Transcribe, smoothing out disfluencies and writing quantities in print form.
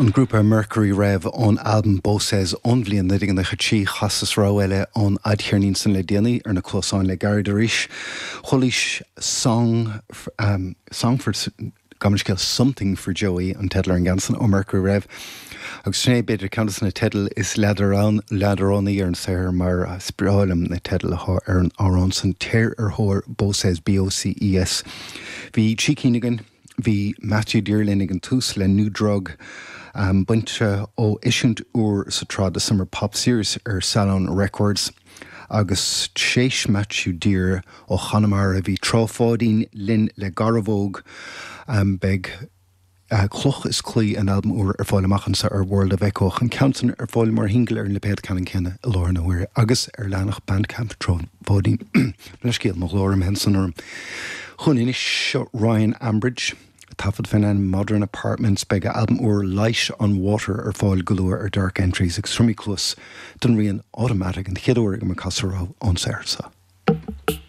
An grúpa Mercury Rev ón albam Boces ón bhliain 1993, chasas rogha eile ón fhadcheirnín san le déanaí ar na cluasáin le gairid arís. Chualaís Song, Song for, gabh mo leithscéal, Something for Joey an teideal ar an gceann san ó Mercury Rev. Agus sin é b'fhéidir ceann de na teidil is leadránaí ar an saothar mar is breá liom na teidil atá ar an amhrán san, Téir ar thóir Boces, B-O-C-E-S. Bhí trí cinn againn. Bhí Matthew Dear linn ag an tús le New Drug, bainte ó eisiúint úr sa tsraith The Summer Pop Series ar Salon Records. Agus tréis Matthew Dear ó Chonamara bhí Trá Pháidín linn le Garbhóg. Beidh Cloch is Claí, an albam úr, ar fáil amach anseo ar World of Echo ach an ceann san ar fáil mar shingil ar an lipéad ceannann céanna i láthair na huaire agus ar leathanach Bandcamp Trá Pháidín. Leithscéal, mo ghlór imithe ansan orm. Chugainn anois, seo Ryan Ambridge, taifead fén ainm Modern Apartments. Beidh a albam úr Light on Water ar fáil go luath ar Dark Entries agus tabharfaimid cluas don rian Automatic an chéad uair agam ag casadh rogha ón saothar seo.